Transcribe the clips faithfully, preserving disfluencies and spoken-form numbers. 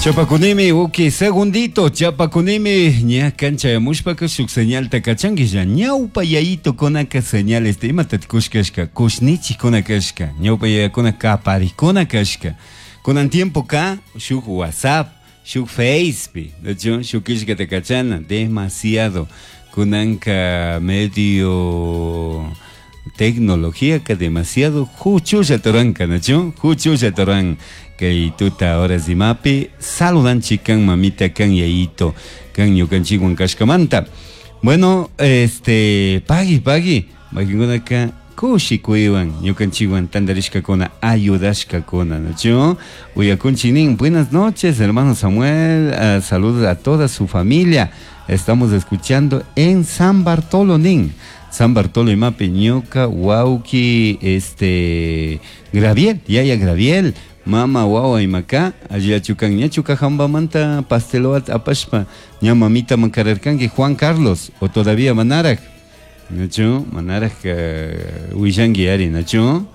Chapakunimi, ok, segundito, chapakunimi, ña kanchayamushpaka shuk señalta kachanki ñawpa yayitukunaka señales imata kushkashka, kushnichikuna kashka, ñawpa yayakuna kaparikuna kashka. Kunan tiempo ka shuk WhatsApp, shuk Facebook, de hecho, shuk killkata kachana, demasiado. Kunanka medio tecnología ka demasiado huchulla turanka, ¿no? Huchulla turan kay tuta horas imapi saludanchik kan mamita kan yayito kan ñukanchikwan kashkamanta. Bueno, este pagui pagui, mayqinkunaka kushikuywan ñukanchikwan tantarishkakuna ayudashkakuna, ¿no? Uyakunchik nin, buenas noches, hermano Samuel, uh, saludos a toda su familia. Estamos escuchando en San Bartolo nin. San Bartolo imapi ñuka wawki este Graviel, yaya Graviel, mama wawa imaka, alliachukan ñachuka hambamanta pasteloat apashpa, ña mamita mankararkanki Juan Carlos, o todavía manaraj, ¿nachu? Manaraj uh, willanki ari, ¿nachu?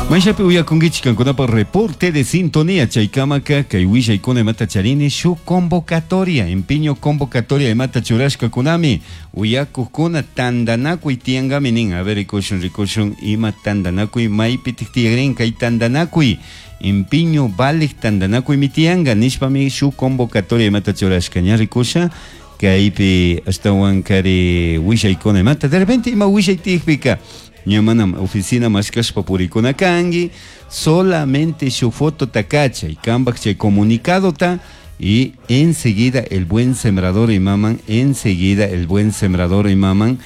Mayshapi uyakunkichik kankunapaq reporte de sintonía chaykamaka kay willaykuna imata charini shuk convocatoria empeño convocatoria imata churashkakunami uyakuqkuna tantanakuy tiyankami nin. A ver, rikushun rikushun ima tantanakuy maypitik tiyakrin kay tantanakuy empeño valik tantanakuymi tiyanka nishpami shuk convocatoria imata churashka ña rikusha kaypi ashtawan kari willaykuna imata de repente ima willay tiyakpika ña manam oficina mashkashpa purikuna kanki solamente shuk fotota kachay kanpak chay comunicadota y enseguida el buen sembrador imaman, enseguida el buen sembrador imaman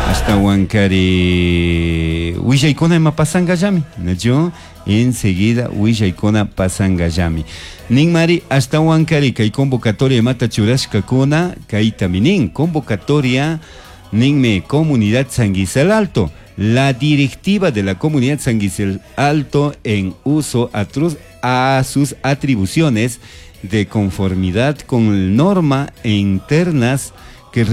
ashtawan kari willaykuna ima pasankallami, ¿nachu? Enseguida willaykuna pasankallami. Ninmari ashtawan kari kay convocatoria imata churashkakuna kaytami nin convocatoria ninmi comunidad San Gisel Alto. La directiva de la comunidad San Gisel Alto en uso a sus atribuciones de conformidad con normas internas